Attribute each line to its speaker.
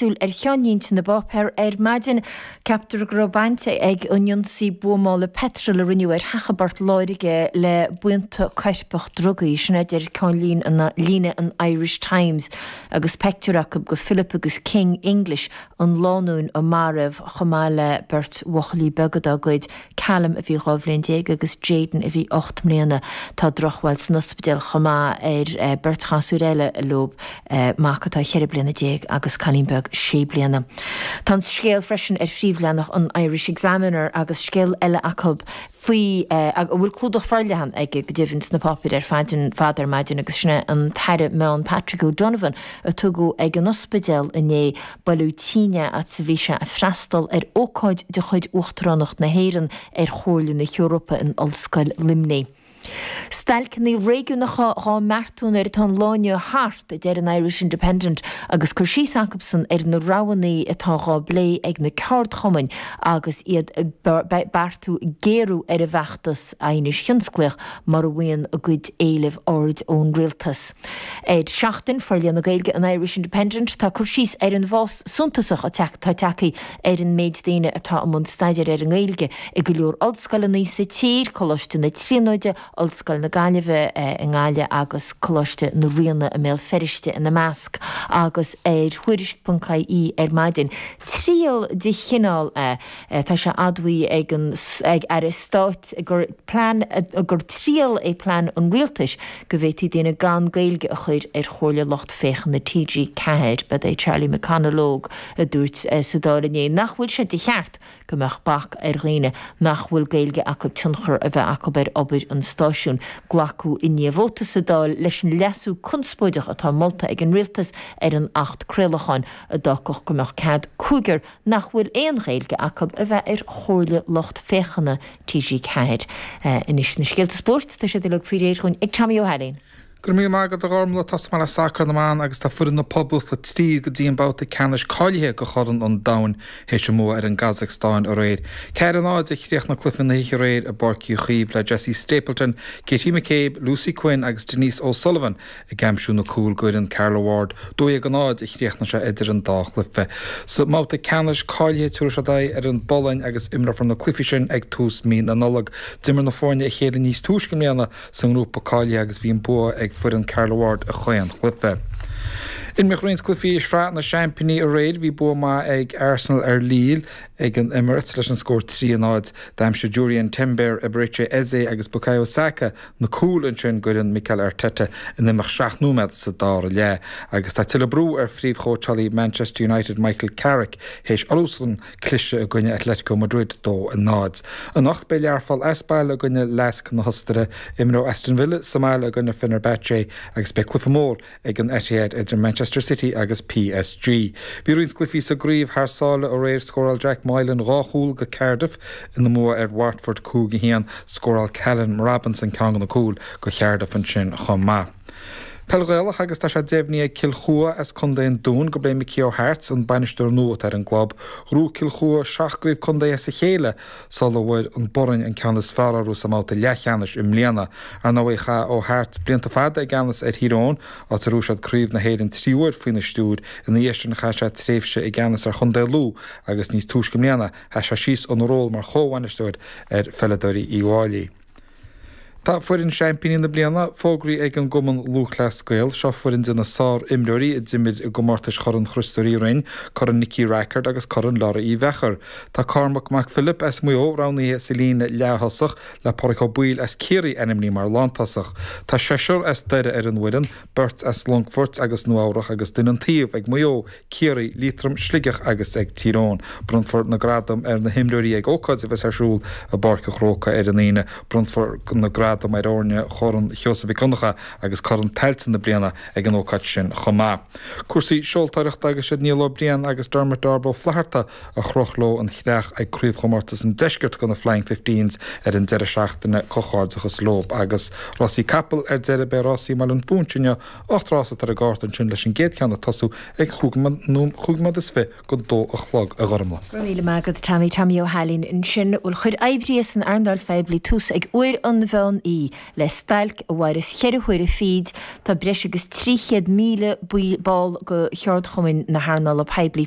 Speaker 1: Súil ar cheannlínte na bpáipéar ar maidin. Ceaptar go raibh baint ag an ionsaí buamála peitril a rinneadh ar theach i bPort Láirge le buíonta coirpeach drugaí. Sin a deir ceannlíne an Irish Times agus peictiúr acu de Philip agus King English, an lánúin a maraíodh, chomh maith le beirt bhuachaillí beaga dá gcuid, Callum a bhí 12 bhliain agus Jayden a bhí 8 mbliana. Tá drochbhail san ospidéal chomh maith ar beirt ghasúr eile leo, mac atá 14 bliana agus cailín beag 6 bliana. Tá an scéal freisin ar phríomhleathanach an Irish Examiner agus scéal eile acu faoi, a bhfuil clúdach forleathan aige go deimhin sna páipéir ar fad ar maidin agus sin é an tAire Meán Patrick O'Donovan a tugadh ag an ospidéal inné Baile tinn é agus a bhí sé ag freastal ar ócáid de chuid Uachtaránacht na hÉireann ar Chomhairle na hEorpa in Ollscoil Luimnigh. Stailceanna réigiúnacha dhá mbeartú nuair atá an lá inniu thart, a deir an Irish Independent agus cur síos acusan ar na roghanna atá dhá bplé ag na ceardchumainn agus iad ag beartú géarú ar an bhfeachtas aighnis thionsclaíoch mura bhfaigheann a gcuid éileamh aird ón rialtas. Ar Seachtain, Forléamh na Gaeilge an Irish Independent, tá cur síos ar an bhfás suntasach atá tagtha ar an méid daoine atá i mbun staidéir ar an nGaeilge i go leor ollscoileanna sa tír, Coláiste na Tríonóide, Ollscoil na Gaillimhe i nGaillimh agus Coláiste na Ríona i mBéal Feirste ina measc, agus ar Thuairisc.ie ar maidin. Triail de chineál é. Tá sé admhaithe ag an ag Aire Stáit gur plean gur triail é plean an Rialtais go bhféadfaí daoine gan Gaeilge a chur ar Chomhairle Lucht Féachana TG4. Ba é Charlie McConalogue a dúirt sa Dáil inné nach bhfuil sé de cheart go mbeadh bac ar dhaoine nach bhfuil Gaeilge acu tionchar a bheith acu ar obair an stáisiúin. Glacadh inné vóta sa Dáil leis an leasú conspóideach atá molta ag an Rialtas ar an Acht Craolacháin a d'fhágfadh go mbeadh cead cúigear nach bhfuil aon Ghaeilge acu a bheith ar Chomhairle Lucht Féachana TG4. Anois na scéalta spóirt, tá siad uilig faoi réir dhúinn ag Tommy Ó hAilín.
Speaker 2: Go raibh míle maith agat a Ghormlaith. Tosóidh mé le sacar na mban agus tá foireann na Poblachta tríd go dtí an babhta ceannais cáilithe do Chorn an Domhain théis a mbua ar an gCasacstáin aréir. 4, 0 a chríochnaigh cluiche na hoíche aréir i bPáirc Uí Chaoimh le Jessie Stapleton, Katie McCabe, Lucy Quinn agus Denise O'Sullivan ag aimsiú na cúl d'fhoireann Carla Ward. 12-0 a chríochnaigh sé idir an dá chluiche. Sa mbabhta ceannais cáilithe tabharfaidh siad aghaidh ar an bPolainn agus imreofar na cluichí sin ag tús mí na Nollag. D'imir na foirne a chéile níos túisce i mbliana sa ngrúpa cáilithe agus bhí an bua ag foireann Carla Ward i chaon chluiche. Imríodh roinnt cluichí i Sraith na Seaimpíní aréir. Bhí bua maith ag Arsenal ar Lille ag an Emirates leis an scór 3-0. D'aimsigh Jurrien Timber, Eberechi Eze agus Bukayo Saka na cúil ansin d'fhoireann Mikel Arteta in imeacht 7 nóiméad sa dara leath. Agus tá tuilleadh brú ar phríomhchóitseálaí Manchester United Michael Carrick théis orthusan cliseadh i gcoinne Atletico Madrid 2-0. Anocht beidh Learpholl as baile i gcoinne Lask na hOstaire, imreoidh Aston Villa sa mbaile i gcoinne Fenerbahce agus beidh cluiche mór ag an Etihad idir Manchester City agus PSG. Bhí roinnt cluichí sa gcraobh thar sáile aréir, scóráil Jack Moylan 2 chúl do Cardiff ina mbua ar Watford 5-1, scóráil Callum Robinson ceann de na cúil do Chardiff ansin chomh maith. Peil Ghaelach agus tá sé deimhnithe ag Cill Chua as Contae an Dúin gurb é Mickey O'Hart an bainisteoir nua atá ar an gclub. Ghnóthaigh Cill Chua 7 gcraobh contae as a chéile sula bhfuair an Boirinn an ceann is fearr orthu sa mbabhta leathcheannais i mbliana. Ar ndóigh, chaith O'Hart blianta fada i gceannas ar Thír Eoghain, áit ar ghnóthaigh siad Craobh na hÉireann 3 huair faoina stiúir. Ina dhiaidh sin, chaith sé tréimhse i gceannas ar chontae Lú agus níos túisce i mbliana, sheas sé síos óna ról mar chomhbhainisteoir ar pheileadóirí Uíbh Fhailí. Tá foireann seaimpíní na bliana fógraithe ag an gCumann Lúthchleas Gael. Seo foireann de na sár-imreoirí a d'imir i gcomórtais Chorn Chriostóir Uí Rinn, Corn Nicky Rackard agus Corn Laura Uí Mheachair. Tá Cormac Mac Philip as Maigh Eo roghnaithe sa líne leath-thosach, le Pádraic Ó Baoill as Ciarraí ainmnithe mar lántosach. Tá seisear as Doire ar an bhfoireann, beirt as Longfort agus Nua Eabhrach agus duine an taobh ag Maigh Eo, Ciarraí, Liatroim, Sligeach agus ag Tír Eoghain. Bronnfar na gradaim ar na himreoirí ag ócáid a bheas ar siúl i bPáirc an Chrócaigh ar an Aoine. Bronnfar na gradaim ar fhoirne Chorn Sheosaimh Mhic Dhonncha agus Corn Tailteann na bliana ag an ócáid sin chomh maith. Cúrsaí seoltóireachta agus siad Niall Ó Briain agus Dermot Darb Ó Flatharta a chroch leo an chreach ag Craobhchomórtas an Deiscirt do na Flying Fifteens ar an deireadh seachtaine. Comhghairdeachas leo. Agus rásaí capall ar deireadh beidh rásaí i mBaile an Phúinse inniu 8 rás atá ar an gcárta ansin leis an gcéad cheann ag tosú ag chúig nóiméad is fi go dó a chlog, a Ghormlaith.
Speaker 1: Go raibh míle maith agat Tommy, Tommy Ó hAilín ansin. Bhuel chuir oibrithe san earnáil phoiblí tús ag uair an mheán. ann í le stailc a mhaireas cheithre huaire fichid. Tá breis agus 300,000 ball de cheardchumainn na hearnála poiblí.